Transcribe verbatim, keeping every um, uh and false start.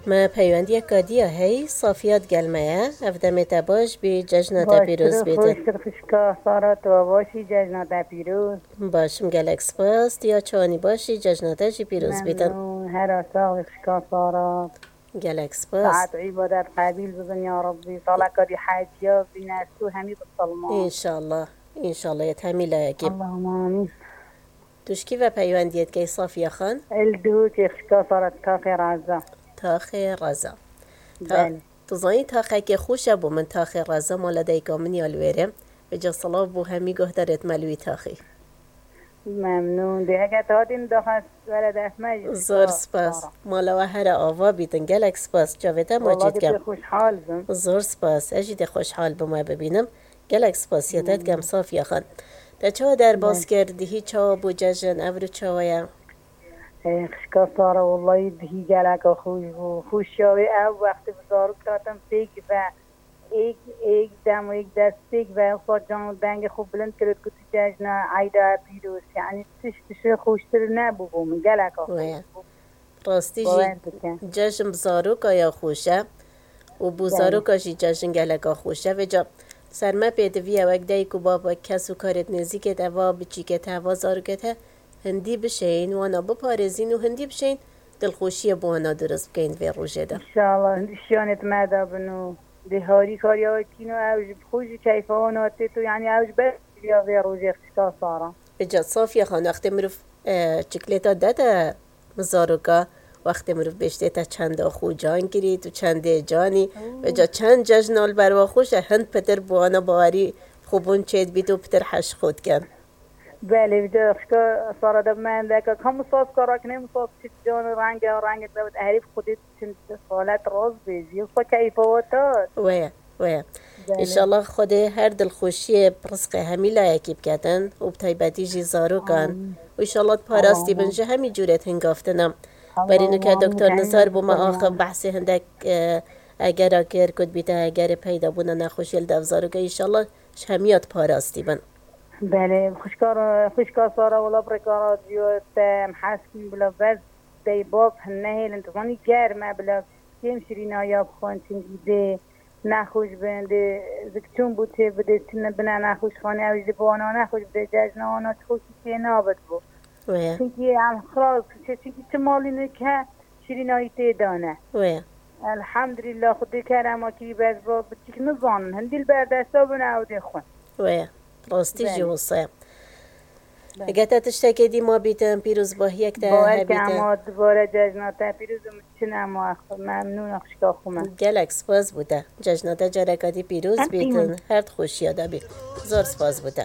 Me peywendiyeka dî ya hey, Safiya digel me ye. Ev demê te baş bî, cejna te pîroz bîtin. Xweştir xwişka Sara, tu baş î, cejna te pîroz. Baş im, gelek spas. Tu ya çawanî baş î, cejna te jî pîroz bîtin. Memnûn, hera sax bî xwişka Sara. Gelek spas. Saet û îbadet qebîl bibin ya Rabbî. Saleka dî heciya bîne tu hemî bisilman. Înşallah. Înşallah yê hemî layekî. Allahumma amîn. Tu ji kî ve peywendiyê dikey Safiya Xan? Li Duhokê xişka Sara, taxê Reza. Taxê Reza. Ta-, Belê. Tu zanî taxekê xweş e bo min taxê Reza, mala dayika min ya li wêrê. Vêca silav bo hemî guhdarêt me li wî taxî. Memnûn. Dê heke tu hatî min daxwest were def me jî. Zor spas. Mala we here ava bîtin. Gelek spas. Çavê te macî dikim. Wallahî dê xweşhal bim. Zor spas. Ez jî dê xweşhal bim we bibînim. Gelek spasiya te dikim Safiya Xan. Te çawa derbas kir? Dihî çawa bû cejin? Evro çawa ye? Ê, xişka Sara, wallahî dihî geleka xweş bû. Xweşiya wê ew wextê bi zarok hatin pêk ve. Êk, êk dem û êk dest pêk ve, wisa can û dengê xwe bilind kir û dikot, cejna eyda pîroz. Yanî tişt, tişt xweştir nebû bo min. Geleka xweş bû. Rastî jî cejn bi zaroka ya xweş e û bo zaroka jî cejn geleka xweş e. Vêca ser me pêdivî ye wek dayik û bab, wek kes û karêt nêzîkê te, va biçîkê te, va zarokê te hindî bişeyîn, wana biparêzîn û hindî bişeyîn dilxweşiyê bo wana durust bikeyn vê rojê de. Înşallah, hindî şiyanê di me de bin û dê harî kariya we kîn û ew ji xwe jî keyfa wana têt û yanî ew ji ber ya vê rojê xişka Sara. Vêca Safiya Xan, wextê mirov, e, çiklêta dede bi zaroka, wextê mirov bêjtê te çenda xwe can kirît û çendê canî. Vêca çend cejna li berwa xweş e, hind pitir bi wana bawerî xwebûn çêdibît û pitir heş xwe dikin. Belê, vêca xişka Sara de bi me hindeka ka misas ka rakine, misas çi can renge, renge de herî bi xwedê çend salet rast bêjî. Xwe keyfa we tat. Weye, weye. Belê. Înşallah Xwedê her dilxweşiyê rizqê hemî layekî biketin û bi taybetî jî zarokan. Amîn. Û înşallah parastî bin ji hemî cûrê hingaftina. Berî nike doktor Nizar bo me axif behsê hindek, e, egera kir, ku dibîte egerê peyda bûna nexweşiyê li dev zaroka. Înşallah ji hemiya diparastî bin. Belê, xwişka, xwişka Sara, wela bi rêka radyo te em hez kîn bila bes dey bab hin nehêlin. Tu zanî germ e bila kêm şirînahiya bixwin, çimkî dê nexweş bin, dê zikçûn bû çê bidê, çine bine nexweşxanê, ew jî dê bi wana nexweş bidê, cejna wana çi xweşî çê nabit bû. Wê. Çimkî em xilas, çimkî çi malî nike şirînahî tê dane. Wê. Elhamdulillah, Xwedê kerema kirî, bes bo biçîk nizanin. Hindî li berdesta bûne ew dê xwin. Wê. Rastî jî wisa ye. Belê. Heke te tiştekê dî ma bîtin, pîrozbahiyek te hebîtin. Bawer ke ema dubare cejna te pîroz û min çin ema memnûn e xwişka xwe me. Gelek spas bo te. Cejna te careka dî pîroz bîtin. Her di xweşiya de bî. Zor spas bo te.